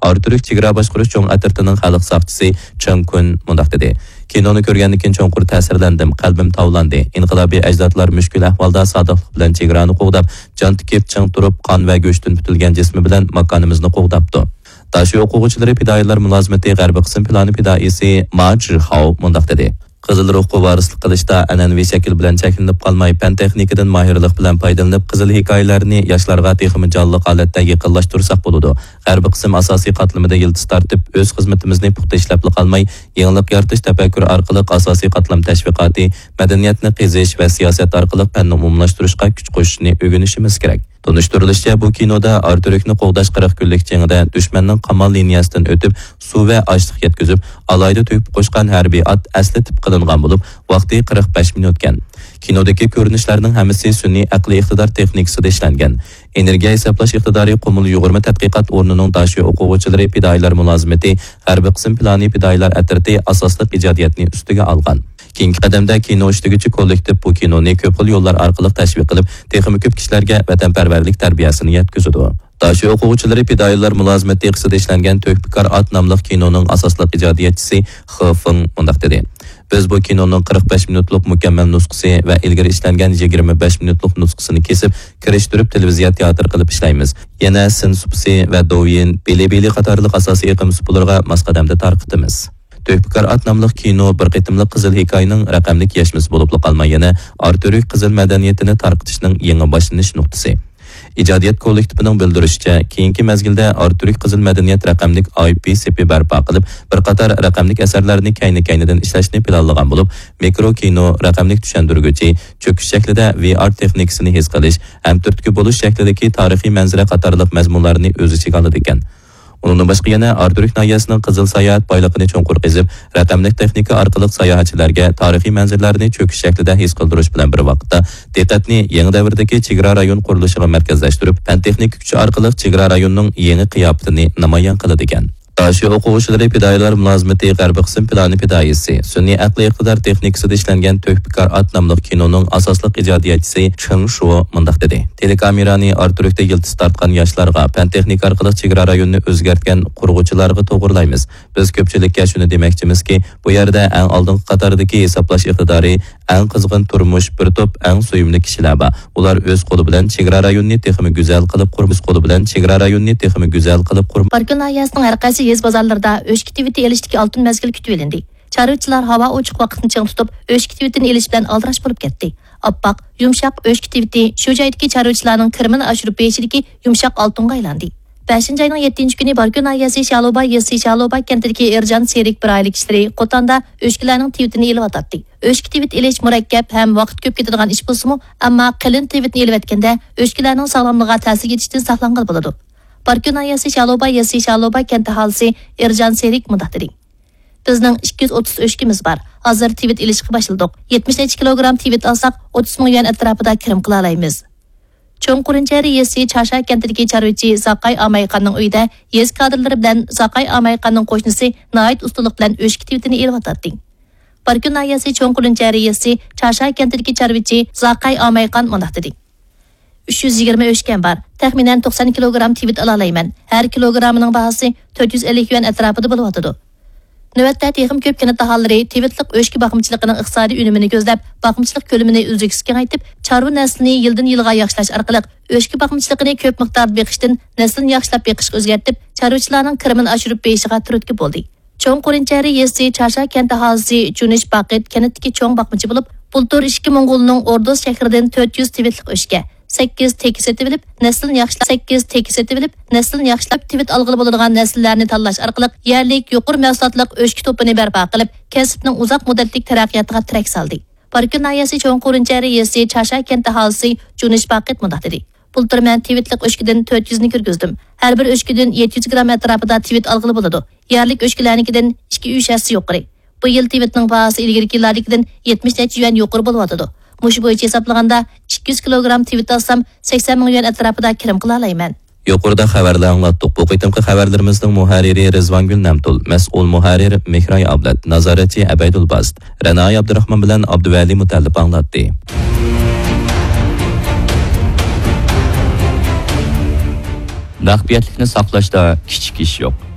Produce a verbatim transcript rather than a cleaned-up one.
ئاراتۈرك چېگرا باشقۇرۇش چوڭ ئەترىتىنىڭ خەلق ساقچىسى چېڭ كۈن مۇنداق دېدى: كىنونى كۆرگەندىن كېيىن چوڭقۇر تەسىرلەندىم، قەلبىم تاۋلاندى. ئىنقىلابىي ئەجدادلار مۈشكۈل ئەھۋالدا سادىقلىق بىلەن چېگرانى قوغداپ، جان تىكىپ، چىڭ تۇرۇپ، قان ۋە گۆشتىن پۈتۈلگەن جىسمى بىلەن ماكانىمىزنى قوغداپتۇ. داشۆ ئوقۇغۇچىلىرى پىدائىيلار مۇلازىمىتى غەربىي قىسىم پىلانى پىدائىيسى ما جىخاۋ مۇنداق دېدى: قىزىل روھقا ۋارىسلىق قىلىشتا ئەنئەنىۋى شەكىل بىلەن چەكلىنىپ قالماي، پەن تېخنىكىدىن ماھىرلىق بىلەن پايدىلىنىپ، قىزىل ھېكايىلەرنى ياشلارغا تېخىمۇ جانلىق ھالەتتە يېقىنلاشتۇرساق بولىدۇ. غەربىي قىسىم ئاساسىي قاتلىمىدا يىلتىز تارتىپ، ئۆز خىزمىتىمىزنى پۇختا ئىشلەپلا قالماي، يېڭىلىق يارىتىش تەپەككۇرى ئارقىلىق ئاساسىي قاتلام تەشۋىقاتى، مەدەنىيەتنى قېزىش ۋە سىياسەت ئارقىلىق پەننى ئومۇملاشتۇرۇشقا كۈچ قوشۇشنى ئۆگىنىشىمىز كېرەك. تونۇشتۇرۇلۇشىچە، بۇ كىنودا ئاراتۈركنى قوغداش قىرىق كۈنلۈك جېڭىدە دۈشمەننىڭ قامال لىنىيەسىدىن ئۆتۈپ، سۇ ۋە ئاشلىق يەتكۈزۈپ، ئالاھىدە تۆكۈپ قوشقان ھەربىي ئات ئەسلىتىپ قىلىنغان بولۇپ، ۋاقتى قىرىق بەش مىنۇتكەن. كىنودىكى كۆرۈنۈشلەرنىڭ ھەممىسى سۈنئىي ئەقلىي ئىقتىدار تېخنىكىسىدا ئىشلەنگەن. ئېنېرگىيە ھېسابلاش ئىقتىدارى قۇمۇل يۇغۇرما تەتقىقات ئورنىنىڭ داشۆ ئوقۇغۇچىلىرى پىدائىيلار مۇلازىمىتى غەربىي قىسىم پىلانى پىدائىيلار ئەترىتى ئاساسلىق ئىجادىيەتنى ئۈستىگە ئالغان. كېيىنكى قەدەمدە كىنو ئىشلىگۈچى كوللېكتىپ بۇ كىنونى كۆپ خىل يوللار ئارقىلىق تەشۋىق قىلىپ، تېخىمۇ كۆپ كىشىلەرگە ۋەتەنپەرۋەرلىك تەربىيەسىنى يەتكۈزىدۇ. داشۆ ئوقۇغۇچىلىرى پىدائىيلار مۇلازىمەت دېقىسىدا ئىشلەنگەن تۆھپىكار ئات ناملىق كىنونىڭ ئاساسلىق ئىجادىيەتچىسى خې فېڭ مۇنداق دېدى: بىز بۇ كىنونىڭ قىرىق بەش مىنۇتلۇق مۇكەممەل نۇسخىسى ۋە ئىلگىرى ئىشلەنگەن يىگىرمە بەش مىنۇتلۇق نۇسخىسىنى كېسىپ، كىرىشتۈرۈپ تېلېۋىزىيە تىياتىر قىلىپ ئىشلەيمىز. يەنە سىن سۇپىسى ۋە دوۋيىن، بىلىبىلى قاتارلىق ئاساسىي ئېقىم سۇپىلىرىغا ماس قەدەمدە تارقىتىمىز. تۆھپىكار ئات ناملىق كىنو بىر قېتىملىق قىزىل ھېكايىنىڭ رەقەملىك يەشمىسى بولۇپلا قالماي، يەنە ئاراتۈرك قىزىل مەدەنىيىتىنى تارقىتىشنىڭ يېڭى باشلىنىش نۇقتىسى. ئىجادىيەت كوللېكتىپىنىڭ بىلدۈرۈشىچە، كېيىنكى مەزگىلدە ئاراتۈرك قىزىل مەدەنىيەت رەقەملىك ئاي پى سېپى بەرپا قىلىپ، بىر قاتار رەقەملىك ئەسەرلەرنى كەينى-كەينىدىن ئىشلەشنى پىلانلىغان بولۇپ، مىكرو كىنو، رەقەملىك چۈشەندۈرگۈچى، چۆكۈش شەكلىدە ۋي ئار تېخنىكىسىنى ھېس قىلىش ھەم تۈرتكە بولۇش شەكلىدىكى تارىخىي مەنزىرە قاتارلىق مەزمۇنلارنى ئۆز ئىچىگە ئالىدىكەن. ئۇنىڭدىن باشقا يەنە ئاراتۈرك ناھىيەسىنىڭ قىزىل ساياھەت بايلىقىنى چوڭقۇر قېزىپ، رەقەملىك تېخنىكا ئارقىلىق ساياھەتچىلەرگە تارىخىي مەنزىرىلەرنى چۆكۈش شەكلىدە ھېس قىلدۇرۇش بىلەن بىر ۋاقىتتا، دىققەتنى يېڭى دەۋردىكى چېگرا رايون قۇرۇلۇشىغا مەركەزلەشتۈرۈپ، پەن تېخنىكا كۈچى ئارقىلىق چېگرا رايونىنىڭ يېڭى قىياپىتىنى نامايان قىلىدىكەن. داشۆ ئوقۇغۇچىلىرى پىدائىيلار مۇلازىمىتى غەربىي قىسىم پىلانى پىدائىيسى، سۈنئىي ئەقلىي ئىقتىدار تېخنىكىسىدا ئىشلەنگەن تۆھپىكار ئات ناملىق كىنونىڭ ئاساسلىق ئىجادىيەتچىسى چېڭ شۇ مۇنداق دېدى: تېلېكامېرانى ئاراتۈركتە يىلتىز تارتقان ياشلارغا، پەن تېخنىكا ئارقىلىق چېگرا رايونىنى ئۆزگەرتكەن قۇرغۇچىلارغا توغرىلايمىز. بىز كۆپچىلىككە شۇنى دېمەكچىمىزكى، بۇ يەردە ئەڭ ئالدىنقى قاتاردىكى ھېسابلاش ئىقتىدارى، ئەڭ قىزغىن تۇرمۇش، بىر توپ ئەڭ سۆيۈملۈك كىشىلەر بار. ئۇلار ئۆز قولى بىلەن چېگرا رايونىنى تېخىمۇ گۈزەل قىلىپ قۇرمىش قولى بىلەن چېگرا رايونىنى تېخىمۇ گۈزەل قىلىپ قۇرم. باركۆل ناھىيەسىنىڭ ھەر قايسى يېزا بازارلىرىدا ئۆچكە تىۋىتى ئېلىشتىكى ئالتۇن مەزگىل كۈتۈۋېلىندى. چارۋىچىلار ھاۋا ئوچۇق ۋاقىتنى چىڭ تۇتۇپ، ئۆچكە تىۋىتىنى ئېلىش بىلەن ئالدىراش بولۇپ كەتتى. ئاپئاق، يۇمشاق ئۆچكە تىۋىتى شۇ جايدىكى چارۋىچىلارنىڭ كىرىمىنى ئاشۇرۇپ بېرىشىدىكى يۇمشاق ئالتۇنغا ئايلاندى. بەشىنچى ئاينىڭ يەتتىنچى كۈنى باركۆل ناھىيەسى شالۇباي يېزىسى شالۇباي كەنتىدىكى ئېرجان سېرىك بىر ئائىلە كىشىلىرى قوتاندا ئۆچكىلەرنىڭ تىۋىتىنى ئېلىۋاتاتتى. ئۆچكە تىۋىت ئېلىش مۇرەككەپ ھەم ۋاقىت كۆپ كېتىدىغان ئىش بولسىمۇ، ئەمما قېلىن تىۋىتنى ئېلىۋەتكەندە ئۆچكىلەرنىڭ ساغلاملىقىغا تەسىر يېتىشتىن ساقلانغىلى بولىدۇ. باركۆل ناھىيەسى شالۇباي يېزىسى شالۇباي كەنت ئاھالىسى ئېرجان سېرىك مۇنداق دېدى: بىزنىڭ ئىككى يۈز ئوتتۇز ئۆچكىمىز بار. ھازىر تىۋىت ئېلىشقا باشلىدۇق. يەتمىش نەچچە كىلوگرام تىۋىت ئالساق، ئوتتۇز مىڭ يۈەن ئەتراپىدا كىرىم قىلالايمىز. چوڭ قۇرۇنچەرى يېزىسى چاشا كەنتىدىكى چارۋىچى زاقاي ئامايخاننىڭ ئۆيىدە يېزا كادىرلىرى بىلەن زاقاي ئامايخاننىڭ قوشنىسى ناھايىتى ئۇستىلىق بىلەن ئۆچكە تىۋىتىنى ئېلىۋاتاتتى. باركۆل ناھىيەسى چوڭ قۇرۇنچەرى يېزىسى چاشا كەنتىدىكى چارۋىچى زاقاي ئامايخان مۇنداق دېدى: ئۈچ يۈز يىگىرمە ئۆچكەم بار. تەخمىنەن توقسان كىلوگرام تىۋىت ئالالايمەن. ھەر كىلوگرامىنىڭ باھاسى تۆت يۈز ئەللىك يۈەن ئەتراپىدا بولۇۋاتىدۇ. نۆۋەتتە تېخىمۇ كۆپ كەنت ئاھالىلىرى تىۋىتلىق ئۆچكە باقمىچىلىقىنىڭ ئىقتىسادىي ئۈنۈمىنى كۆزلەپ، باقمىچىلىق كۆلىمىنى ئۈزلۈكسىز كېڭەيتىپ، چارۋا نەسلىنى يىلدىن يىلغا ياخشىلاش ئارقىلىق ئۆچكە باقمىچىلىقىنى كۆپ مىقداردا بېقىشتىن نەسلىنى ياخشىلاپ بېقىشقا ئۆزگەرتىپ، چارۋىچىلارنىڭ كىرىمىنى ئاشۇرۇپ بېرىشىغا تۈرتكە بولدى. چوڭ قۇرۇنچەرى يېزىسى چاشا كەنت ئاھالىسى جۇنىش باقىت كەنتتىكى چوڭ باقمىچى بولۇپ، بۇلتۇر ئىككى موڭغۇلنىڭ ئوردۇز شەھىرىدىن تۆت يۈز تىۋىتلىق ئۆچكە، سەككىز تېكە سېتىۋېلىپ، نەسلىنى ياخشىلاپ، سەككىز تېكە سېتىۋېلىپ، نەسلىنى ياخشىلاپ، تىۋىت ئالغىلى بولىدىغان نەسىللەرنى تاللاش ئارقىلىق يەرلىك يۇقىرى مەھسۇلاتلىق ئۆچكە توپىنى بەرپا قىلىپ، كەسىپنىڭ ئۇزاق مۇددەتلىك تەرەققىياتىغا تىرەك سالدى. باركۆل ناھىيەسى چوڭ قۇرۇنچەرى يېزىسى چاشا كەنت ئاھالىسى جۇنىش باقىت مۇنداق دېدى: بۇلتۇر مەن تىۋىتلىق ئۆچكىدىن تۆت يۈزنى كىرگۈزدۈم. ھەر بىر ئۆچكىدىن يەتتە يۈز گرام ئەتراپىدا تىۋىت ئالغىلى بولىدۇ. يەرلىك ئۆچكىلەرنىڭكىدىن ئىككى ئۈچ ھەسسە يۇقىرى. بۇ يىل تىۋىتنىڭ باھاسى ئىلگىرىكى يىللاردىكىدىن يەتمىش نەچچە يۈەن يۇقىرى بولۇۋاتىدۇ. مۇشۇ بويىچە ھېسابلىغاندا، ئىككى يۈز كىلوگرام تىۋىت ئالسام، سەكسەن مىڭ يۈەن ئەتراپىدا كىرىم قىلالايمەن. يۇقىرىدا خەۋەرلەر ئاڭلاتتۇق. بۇ قېتىمقى خەۋەرلىرىمىزنىڭ مۇھەررىرى رىزۋانگۈل نەمتۇل، مەسئۇل مۇھەررىر مېھراي ئابلەت، نازارەتچى ئەبەيدۇل باست. رەنايى ئابدۇراخمان بىلەن ئابدۇۋەلى مۇتەللىپ ئاڭلاتتى. مەخپىيەتلىكنى ساقلاشتا كىچىك ئىش يوق.